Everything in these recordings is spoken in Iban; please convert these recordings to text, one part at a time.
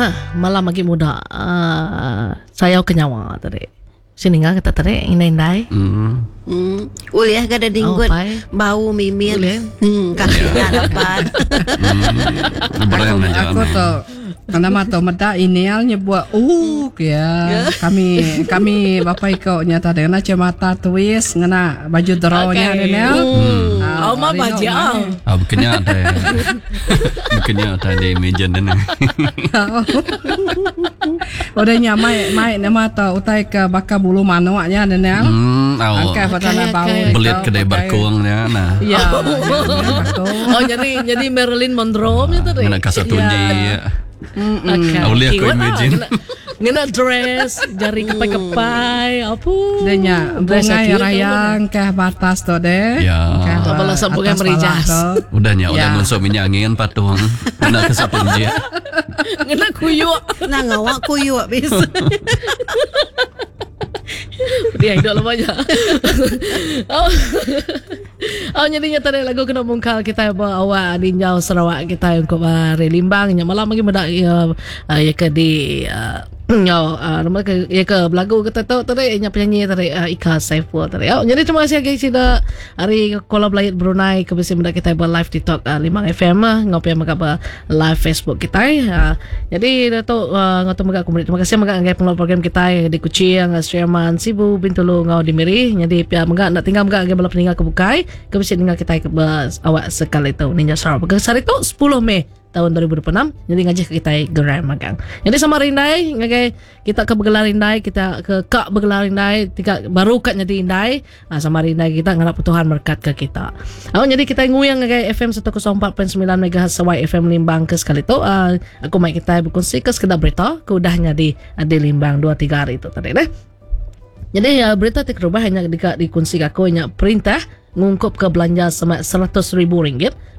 nah malam agi muda uh, sayau ke nyawa tadi. Sini ninga kita tadi indai-indai. Hmm. Hmm. Ulih ga da dinggut Oh, bau mimit. Ulih. Hmm, kaki nya dapat. Hmm. Aku, aku tu nama tu meda email nyebut uh ya. Kami kami bapa iko nya tadi ngena cermata twist ngena baju draw nya Okay. Daniel. Hmm. Ah, Oh, ma rindu baju. mai. Ah, bukannya ada. Bukannya ada di imagine ni. Udah nya mai mai nama tu utai ke baka bulu manuk nya Daniel. Hmm, oh. Angkai pada Okay, bau. okay. Belit tu, kedai pakai- bakung nya nah. Ya. bakung. Oh jadi jadi Marilyn Monroe nya tadi. Ngena kasut tunji. Ya. Okay. Boleh aku Kiwat lah, imagine. Ngena, ngena dress, jari kepai-kepai, apa. Dia nya Dress bungai cute raya angkah batas tu deh. Ya. Angkah Tak balas atas bungai pala merijas. tu. Udah nya udah Ya. ngonsok minyak angin patung. Ngena kasut tunji. Ngena kuyuk. Nah ngawak kuyuk bis. Dia hidup lah banyak. oh. oh jadi nya tadi lagu kena mungkal kita ba awak di Njau Sarawak kita untuk hari Limbang nya malam lagi medak ya ya ke di Nyau, nama ke ya ke belagu kita tu tadi nya penyanyi tadi Ika Saiful tadi. Oh, jadi terima kasih guys sida hari Kuala Belayut Brunei ke bisi meda kita ba live TikTok Limbang FM ngopi mega ba live Facebook kita. Jadi Datuk uh, ngau mega aku meri terima kasih mega ngagai pengelola program kita di Kuching, Sri Aman, Sibu, Bintulu ngau di Miri. Jadi pia mega nak tinggal mega ngagai bala peninggal ke bukai ke bisi ningal kita ke awak sekali tu Ninja Sarawak. Hari tu 10 Mei tahun 2026 jadi ngajih ke kita gerai magang. Jadi sama rindai ngagai kita ke bergelar rindai kita ke kak bergelar rindai tiga baru kat jadi indai ha, sama rindai kita ngarap Tuhan berkat ke kita. Oh, jadi kita nguyang ngagai FM 104.9 MHz Y FM Limbang ke sekali tu uh, aku mai kita berkongsi ke sekedar berita ke udahnya di di Limbang 2 3 hari tu tadi deh. Jadi uh, berita ti kerubah hanya dika dikunsi aku hanya perintah ngungkup ke belanja semak RM100,000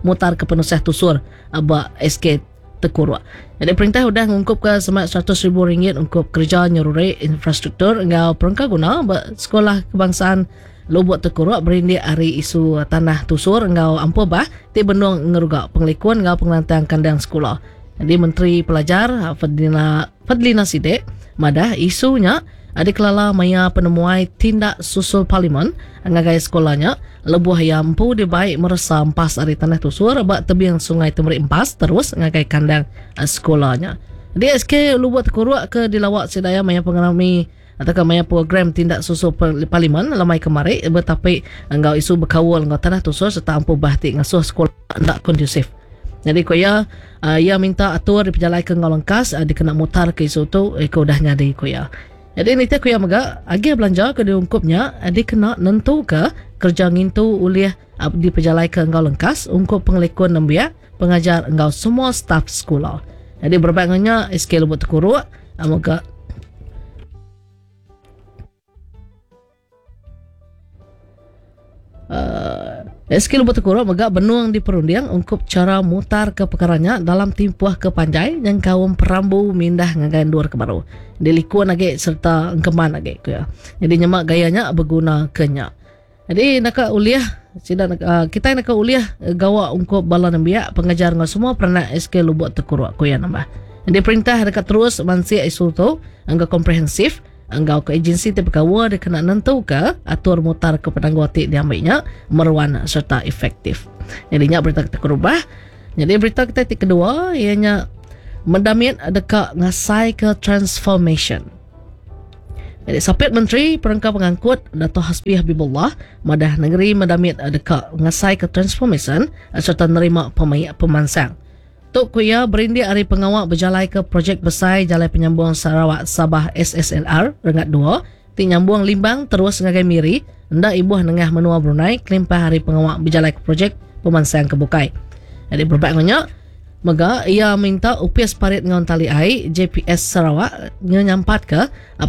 mutar ke penusah tusur ba SK Tekuruk. Jadi perintah udah ngungkup ke semak RM100,000 untuk kerja nyeruri infrastruktur engau perengka guna ba sekolah kebangsaan Lubuk Tekuruk berindik hari isu tanah tusur engau ampuh bah ti benung ngeruga pengelikun engau pengelantang kandang sekolah. Jadi Menteri Pelajar Fadlina Fadlina Sidek madah isunya ada kelala maya penemuai tindak susul parlimen ngagai sekolahnya lebuh yang empu dibaik meresa empas ari tanah tusur bak tebing sungai Temerik Empas terus ngagai kandang sekolahnya. Di SK Lubuk Tekuruk ke dilawak sedaya maya pengalami atau ke maya program tindak susul parlimen lamai kemari bertapi engau isu berkawal engau tanah tusur serta ampu bahtik ngasuh sekolah ndak kondusif. Jadi ko ya uh, ia minta atur di pejalai ke ngau lengkas uh, dikena mutar ke isu tu iko dah nyadi ko ya. Jadi ni ku ya mega agi belanja ke diungkupnya dikena nentu ke kerja ngintu ulih di pejalai ke ngau lengkas ungkup pengelikun nembiak pengajar engau semua staf sekolah. Jadi berbangnya SK Lubuk Tekuruk moga SK Lubuk Tekuruk mega benuang di perundiang ungkup cara mutar ke perkaranya dalam timpuah ke panjai yang kaum perambu mindah ngagai luar ke baru. Dilikuan lagi serta engkeman lagi ku ya. Jadi nyemak gayanya berguna kenya. Jadi nak uliah sida nak, kita nak uliah gawa ungkup bala nembiak pengajar ngau semua peranak SK Lubuk Tekuruk ku ya nambah. Jadi perintah dekat terus mansi isu tu angga komprehensif engkau ke agensi ti pekawa dia kena nentu ke atur mutar ke penangguati diambilnya meruan serta efektif. Jadi nya berita kita kerubah. Jadi berita kita ti kedua ianya mendamit dekat ngasai ke transformation. Jadi Sapit Menteri Perengka Pengangkut Dato' Hasbi Habibullah madah negeri mendamit dekat ngasai ke transformation serta nerima pemayak pemansang. Tok kuya berindik hari pengawak berjalai ke projek besar Jalai Penyambung Sarawak Sabah SSLR Rengat 2 ti nyambung Limbang terus ngagai Miri ndak ibuh nengah menua Brunei kelimpah hari pengawak berjalai ke projek pemansang ke Bukai. Jadi berbak ngonyak mega ia minta UPS Parit Ngaun Tali Ai JPS Sarawak nyampat ke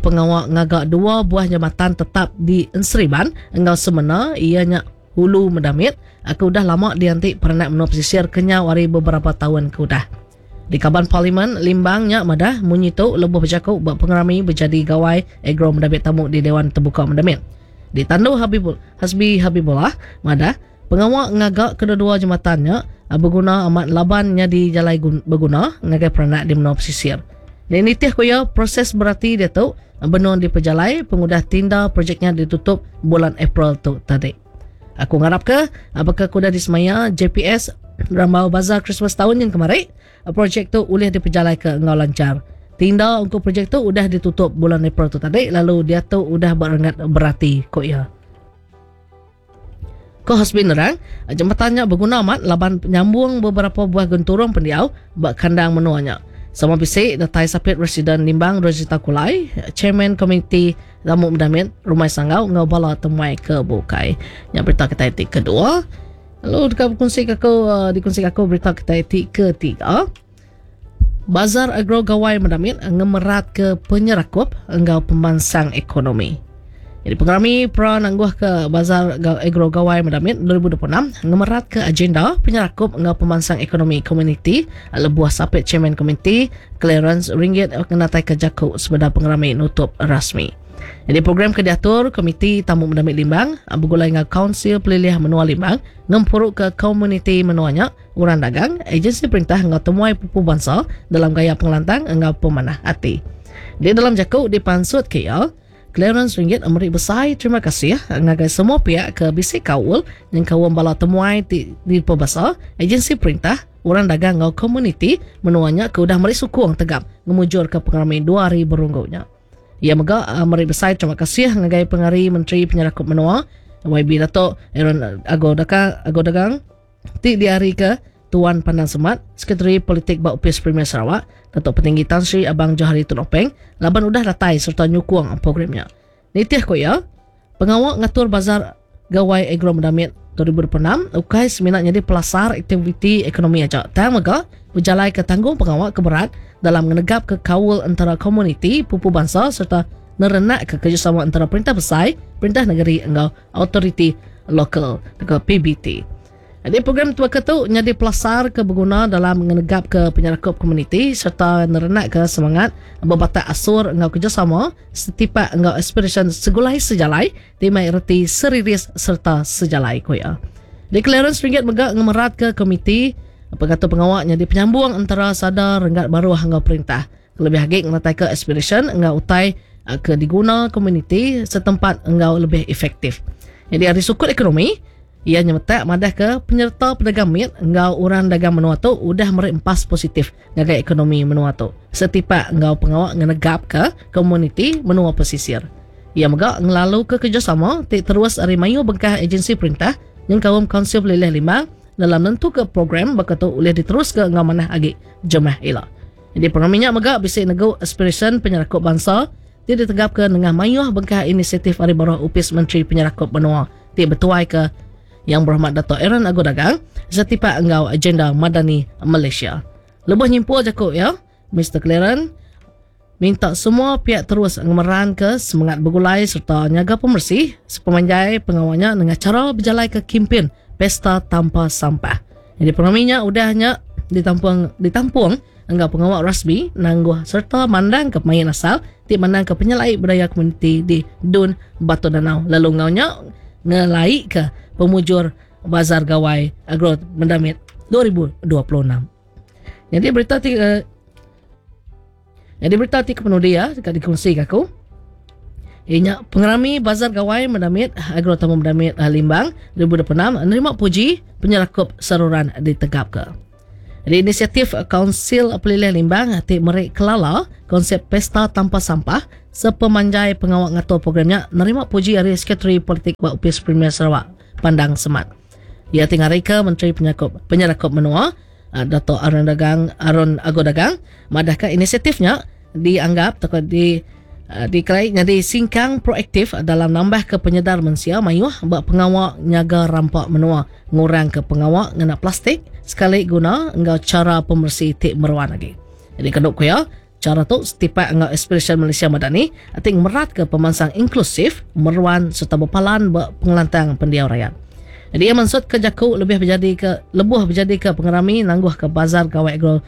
pengawak ngagak dua buah jambatan tetap di Enseriban engau semena ianya Hulu Medamit aku dah lama diantik peranak menua pesisir kenyau hari beberapa tahun ke udah. Di kaban parlimen Limbangnya madah munyi tu lebuh berjakuk buat pengerami berjadi gawai agro Medamit tamu di Dewan Terbuka Medamit. Di Tandu Habibul Hasbi Habibullah madah pengawak ngagak kedua-dua jembatannya berguna amat labannya di jalai berguna ngagai peranak di menua pesisir. Nitih ku iya, proses berati diatu benung dipejalai pengudah tinda projek nya ditutup bulan April tu tadi. Aku ngarapka baka ke udah disemaya JPS rambau Bazar Krismas taun nyin kemari, projek tu ulih dipejalaika enggau lanchar. Tinda ungkup projek tu udah ditutup bulan April tu tadi lalu diatu udah ba renggat berati, ku iya. Ku Hasbin nerang, jematan nya beguna amat laban nyambung beberapa buah genturung pendiau ba kandang menua nya. Sama bisi datai Sapit Residen Limbang Rosita Kulai, Chairman Komiti Tamu Medamit Rumai Sanggau enggau bala temuai ke bukai. Nya berita kitai ti kedua. Lalu deka bekunsi ke aku dikunsi ke aku berita kitai ti ketiga. Bazar Agro Gawai Medamit ngemeratka penyerakup enggau pemansang ekonomi. Jadi pengerami pra nangguhka Bazar Agro Gawai Medamit 2026 ngemeratka agenda penyerakup enggau pemansang ekonomi komuniti lebuh sapit chairman komiti Clarence Ringgit ngenataika jaku sebedau pengerami nutup rasmi. Nyadi program ke diatur Komiti Tamu Medamit Limbang begulai enggau Kaunsil Pelilih Menua Limbang ngempuruka komuniti menua nya orang dagang, ejensi perintah enggau temuai pupu bansa dalam gaya pengelantang enggau pemanah ati. Di dalam jaku dipansutka iya, Clarence Ringgit meri besai terima kasih ngagai semua piak ke bisi kaul nyengkaum bala temuai ti dipebasa, ejensi perintah, orang dagang enggau komuniti menua nya ke udah meri sukung tegap ngemujurka pengerami dua hari berunggu nya. Iya mega meri besai terima kasih ngagai pengari Menteri Penyerakup Menua, YB Datuk Aaron Ago Dagang, ti diarika Tuan Pandang Semat, Sekretari Politik ba Opis Premier Sarawak, Datuk Patinggi Tan Sri Abang Johari Tun Openg laban udah datai sereta nyukung program nya. Nitih ku iya, pengawa ngatur Bazar Gawai Agro Medamit 2026 ukai semina nyadi pelasar aktiviti ekonomi aja tang mega bejalaika tanggungpengawa ke berat dalam ngenegapka kaul entara komuniti pupu bansa sereta nerenakka kerejasama entara perintah besai, perintah nengeri enggau autoriti lokal tauka PBT. Nyadi program tebaka tu nyadi pelasar ke beguna dalam ngenegapka penyerakup komuniti sereta nerenakka semangat bebatak asur enggau kerejasama setipak enggau aspirasyen segulai sejalai ti mai reti seriris sereta sejalai, ku iya. Di Clarence Ringgit mega ngemeratka komiti pengatur pengawa nyadi penyambung entara sada renggat baruh enggau perintah. Kelebih agi ngenataika aspirasyen enggau utai ke diguna komuniti setempat enggau lebih efektif. Nyadi ari sukut ekonomi, iya nyemetak madahka penyereta pedagang mit enggau orang dagang menua tu udah meri empas positif ngagai ekonomi menua tu setipak enggau pengawa ngenegapka komuniti menua pesisir. Iya mega ngelaluka kerejasama ti terus ari mayuh bengkah ejensi perintah nyengkaum Kaunsil Pelilih Limbang dalam nentuka program baka tu ulih diteruska enggau manah agi jemah ila. Nyadi pengerami nya mega bisi negu aspirasyen penyerakup bansa ti ditegapka nengah mayuh bengkah inisiatif ari baruh Opis Menteri Penyerakup Menua ti betuaika Yang Berhormat Dato Aaron Ago Dagang setipak enggau agenda Madani Malaysia. Lebuh nyimpul jaku iya, Mister Clarence minta semua piak terus ngemeranka semengat begulai sereta nyaga pemeresi sepemanjai pengawa nya nengah chara bejalaika kimpin Pesta Tanpa Sampah. Nyadi pengerami nya udah nya ditampung ditampung enggau pengawa rasmi nangguh sereta mandangka pemain asal ti mandangka penyelai budaya komuniti di Dun Batu Danau lalu enggau nya ngelaika pemujur Bazar Gawai Agro Mendamit 2026. Nyadi berita ti uh, Nyadi berita ti kepenudi iya deka dikongsi ke aku. Iya nya pengerami Bazar Gawai Medamit Agro Tamu Medamit eh, Limbang 2026 nerima puji penyerakup seruran ditegapka. Jadi inisiatif Kaunsil Pelilih Limbang ti meri kelala konsep Pesta Tanpa Sampah sepemanjai pengawa ngatur program nya nerima puji ari Sekretari Politik ba Opis Premier Sarawak Pandang Semat. Iya ti ngarika Menteri Penyerakup Penyerakup Menua Dato Aaron Dagang Aaron Ago Dagang madahka inisiatif nya dianggap tauka di dikelai nyadi singkang proaktif dalam nambahka penyedar mensia mayuh ba pengawa nyaga rampa menua, ngurangka pengawa ngena plastik sekali guna enggau chara pemeresi ti meruan agi. Nyadi kenu ku iya, chara tu setipak enggau aspirasyen Malaysia Madani ti ngemeratka pemansang inklusif, meruan sereta bepalan ba pengelantang pendiau rayat. Nyadi iya mansutka jaku lebih bejadika lebuh bejadika pengerami nangguhka Bazar Gawai Agro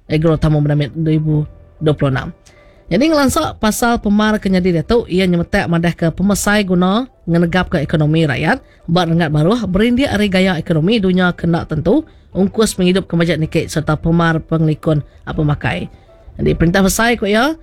Agro Tamu Medamit 2026. Nyadi ngelansa pasal pemar ke nyadi diatu, iya nyemetak madahka pemesai guna ngenegapka ekonomi rakyat ba renggat baruh berindik ari gaya ekonomi dunya ke enda tentu, ungkus pengidup ke majak niki sereta pemar pengelikun pemakai. Jadi perintah besai ku iya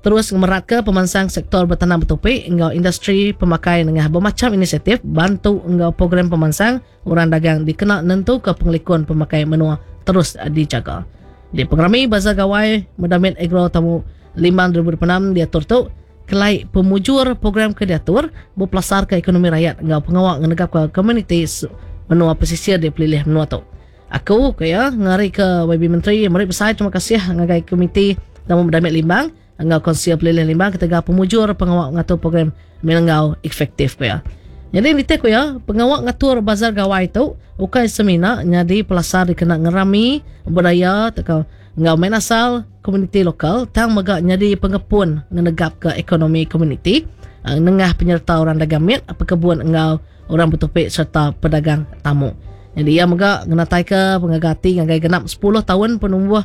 terus ngemeratka pemansang sektor betanam betupi enggau industri pemakai nengah bemacham inisiatif bantu enggau program pemansang orang dagang dikena nentuka pengelikun pemakai menua terus dijaga. Di pengerami Bazar Gawai Medamit Agro Tamu Limbang 2026 diatur tu kelai pemujur program ke diatur bepelasarka ekonomi rayat enggau pengawa ngenegapka komuniti menua pesisir di pelilih menua tu. Aku, ku iya, ngarika YB Menteri meri besai terima kasih ngagai Komiti Tamu Medamit Limbang enggau Konsil Pelilih Limbang ketegal pemujur pengawa ngatur program enggau efektif, ku iya. Nyadi nitih ku iya, pengawa ngatur Bazar Gawai tu ukai semina nyadi pelasar dikena ngerami budaya tauka enggau main asal komuniti lokal tang mega nyadi pengepun ngenegapka ekonomi komuniti nengah penyereta orang dagang mit, pekebun enggau orang betupi sereta pedagang tamu. Nyadi iya mega ngenataika pengaga ati ngagai genap sepuluh taun penumbuh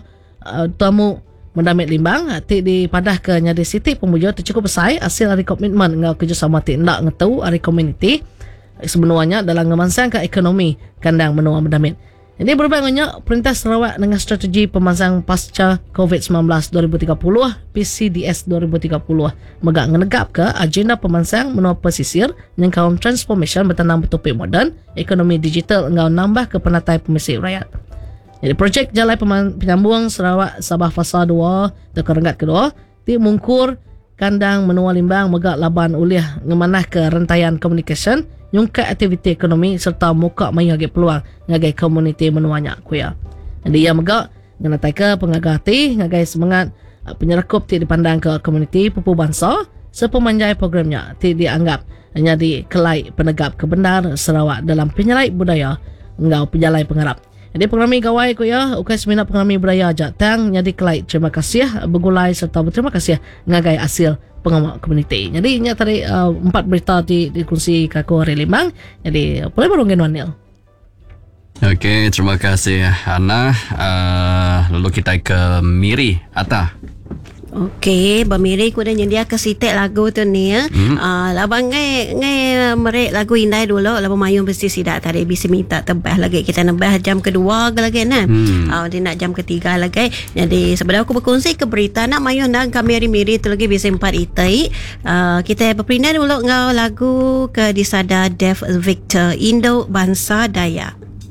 tamu Mendamit Limbang ti dipadahka nyadi siti pemujur ti chukup besai asil ari komitmen enggau kerejasama ti enda ngetu ari komuniti semenua nya dalam ngemansangka ekonomi kandang menua Mendamit. Nyadi berubah enggau nya, Perintah Sarawak nengah Strategi Pemansang Pasca Covid 19 2030, PCDS 2030, mega ngenegapka agenda pemansang menua pesisir nyengkaum transformasyen betanam betupi moden, ekonomi digital enggau nambahka penatai pemisi rayat. Nyadi projek Jalai Penyambung Sarawak Sabah Fasa dua tauka renggat kedua ti mungkur kandang menua Limbang mega laban ulih ngemanahka rentayan komunikasyen, nyungkak aktiviti ekonomi sereta muka mayuh agi peluang ngagai komuniti menua nya, ku iya. Nyadi iya mega ngenataika pengaga ati ngagai semengat penyerakup ti dipandangka komuniti pupu bansa sepemanjai program nya ti dianggap nyadi kelai penegap ke bendar Sarawak dalam penyelai budaya enggau pejalai pengarap. Nyadi pengerami gawai ku iya ukai semina pengerami budaya aja tang nyadi kelai terima kasih begulai sereta beterima kasih ngagai asil pengawa komuniti. Nyadi nya tadi uh, empat berita ti dikunsi ka aku hari Limbang. Nyadi pulai baru ngagai nuan Neil. Okey, terima kasih Ana. Uh, lalu kita ke Miri, Ata. Okey, ba Miri ku udah nyendiaka siti lagu tu ni ya. Hmm. Uh, laban ngai ngai meri lagu indai dulu laban mayuh mesti sida tadi bisi minta tebah lagi kita nebah jam kedua ke lagi nah. Hmm. Uh, dia nak jam ketiga lagi. Jadi sebedau aku berkongsi ke berita nak mayuh nang kami hari Miri tu lagi bisi empat itai. Uh, kita berpindah dulu enggau lagu ke disada Dev Victor Indo Bansa Dayak.